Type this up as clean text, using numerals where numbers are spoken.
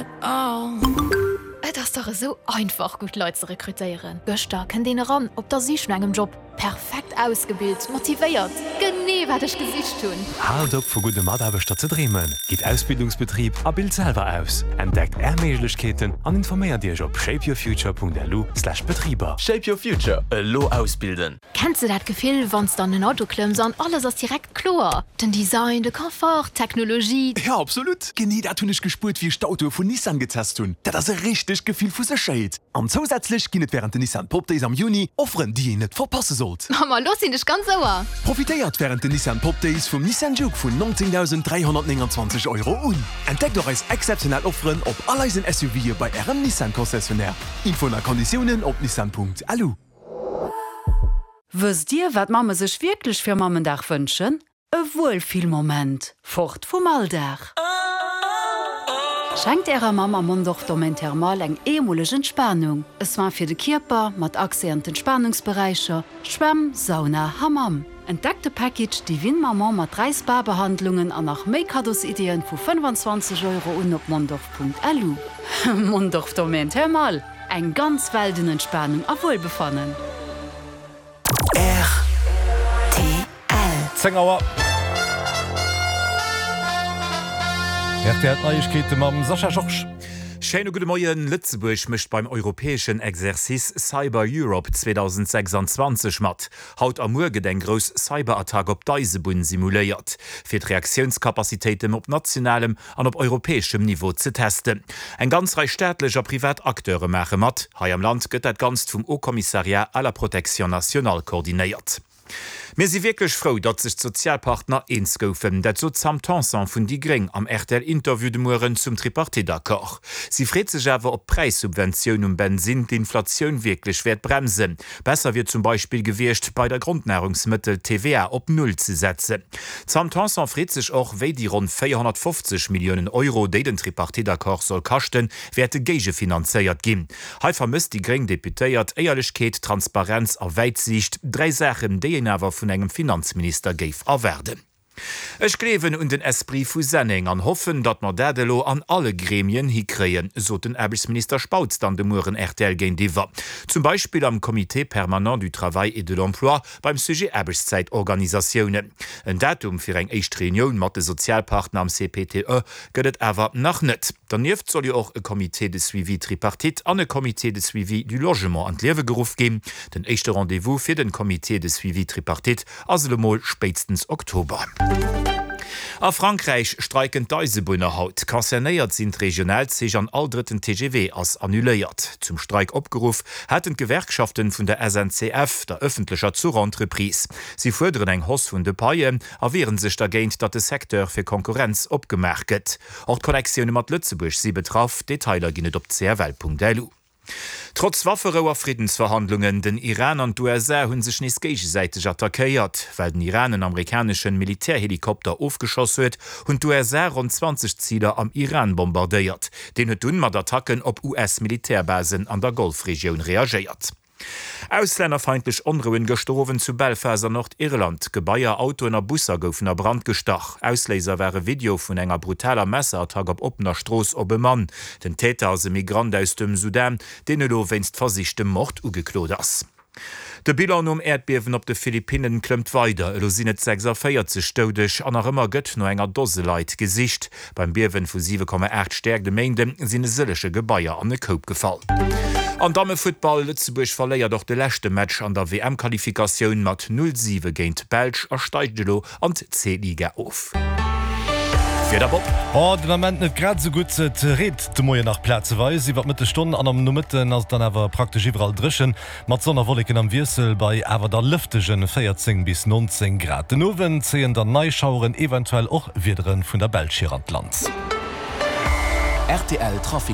at all. Et ass dach esou einfach gutt Leit ze rekrutéieren. Gëschter kënnt een eran op der Sich no engem Job. Perfekt ausgebilt, motivéiert, genee wat ech gesicht hunn! Haalt op vu gudde Mataarbechter ze dreemen, gitt Ausbildungsbetrib a bilt selwer aus. Entdeckt Är Méiglechkeeten an informéiert Iech op shapeyourfuture.lu/betriber. Shape your future, elo ausbilden! Kenns de dat Gefill wanns de an en Auto klëmms an alles ass direkt kloer? Den Design, de Confort, d'Technologie. Jo absolut! Genee dat hunn ech gespuert wéi ech d'Autoe vun Nissan getest hunn. Dat ass e richtegt Gefill vu Sécherheet. An zousätzlech ginn et wärend den Nissan Pop Days am Juni Offeren déi een net verpasse sollt. Ma lo sinn ech ganz ouer! Profitéiert wärend den Nissan Pop Days vum Nissan Juke vun 19.329 Euro un. Entdeckt och eis exzeptionell Offeren op all eisen SUVe bei ärem Nissan Concessionnaire. Infoen a Konditiounen op nissan.lu. Wësst Dir, wat Mamme sech wierklech fir Mammendag wënschen? E Wuelfillmoment, fort vum Alldag! Schenkt Ärer Mamm am Mondorf Domaine Thermal eng eemoleg Entspanung, e Soin fir de Kierper mat Accès an d'Entspanungsberäicher, Schwämm, Sauna, Hammam. Entdeckt de Package Divine Maman mat 3 Spa-Behandlungen an nach méi Kaddosideeën vu 25 Euro un op mondorf.lu. Mondorf Domaine Thermal, Eng ganz Welt un Entspanung a Wuelbefannen. Rtl. 10 Auer. Rtl Neiegkeete mam Sascha Georges. Schéine gudde Moien. Lëtzebuerg mécht beim europäeschen Exercice Cyber Europe 2026 mat. Haut a muer gëtt eng grouss Cyberattack op d'Eisebunn simuléiert, fir d'Reaktiounscapacitéiten op nationalem an op europäeschem Niveau ze testen. Eng ganz Rei staatlech a privat Acteure maache mat. Hei am Land gëtt dat Ganzt vum Haut Commissariat à la protection nationale koordinéiert. Mir si wierklech frou, datt sech d'Sozialpartner eens goufen. Dat sot d'Sam Tanson vun déi Gréng am RTL-Interview de Mueren zum Tripartite-Accord. Si freet sech awer, ob d'Präissubventioun um Bensinn d'Inflatioun wierklech wäert bremsen. Besser wier zum Beispill gewiescht, bei der Grondnahrungsmëttel d'TVA op Null ze setzen. D'Sam Tanson freet sech och, wéi déi ronn 450 Milliounen Euro, déi den Tripartite-Accord soll kaschten, wäerte géigefinanzéiert ginn. Hei vermësst déi gréng Deputéiert Éierlechkeet, Transparenz a Wäitsiicht, dräi Saachen, déi een awer vun engem Finanzminister géif erwaarden. Ech gleewen un den Esprit vu Senneng an hoffen, datt mer dat elo an alle Gremien hikréien, sot den Aarbechtsminister Spautz dann de Mueren rtl géintiwwer. Zum Beispill am Comité permanent du travail et de l'emploi beim Sujet Aarbechtszäitorganisatiounen. En Datum fir eng éischt Reunioun mat de Sozialpartner am CPTE gëtt et awer nach net. Dernieft soll jo och e Comité de suivi tripartite an e Comité de suivi du logement an d'Liewe geruff ginn. Den éischte Rendez-vous fir den Comité de suivi tripartite Ass elo mol spéitstens Oktober. A Frankräich streiken d'Eisebunner haut. Concernéiert sinn d'Regionalzich an all drëtten TGV ass annuléiert. Zum Streik opgeruff haten d'Gewerkschaften vun der SNCF, der ëffentlecher Zuchentreprise. Si fuerderen eng Hausse vun de Paien a wieren sech dergéint, datt de Secteur fir Konkurrenz opgemaach gëtt. Och d'Connectioune mat Lëtzebuerg si betraff. Detailer ginn et op cfl.lu. Trotz Wafferou a Friddensverhandlungen, den Iran an d'USA hu sech nees géigesäiteg attackéiert. Well den Iran en amerikaneschen Militärhelikopter ofgeschoss huet, hunn d'USA ronn 20 Ziler am Iran bombardéiert. Deen huet dunn mat Attacken op US-Militärbasen an der Golfregioun reagéiert. Auslännerfeindlech Onrouen gëschter Owend zu Belfast an Nordirland. Gebaier, Autoen a Busser goufen a Brand gestach. Ausléiser war e Video vun enger brutaler Messerattack op oppener Strooss op e Mann. Den Täter ass e Migrant aus dem Sudan, deen elo wéinst versichtem Mord ugeklot ass. De Bilan nom Äerdbiewen op de Philippinnen klëmmt weider. Elo sinn et 46 Doudeg an nach ëmmer gëtt no enger Dose Leit gesicht. Beim Biewen vu 7,8 Stäerkt e Méinde sinn e sëllege Gebaier an e Koup gefall. An Dammefuttball, Lëtzebuerg verléiert och de leschte Match an der WM-Qualifikatioun mat 0, 7 géint d'Belsch a steigt elo an d'C-Liga of. Wieder Bob. Oh, den Ament net grad esou gutt. Et reent de Moien nach plazeweis, iwwer d'Mëttesstonn an am Nomëtten ass et dann awer praktesch iwwerall dréchen, mat Sonn a Wolleken am Wiessel, bei awer da lëftege 14 bis 19 Grad. Den Owend zéien dann nei Schaueren, eventuell och Wiedere vun der Belsch hier an d'Land. Rtl Trafic.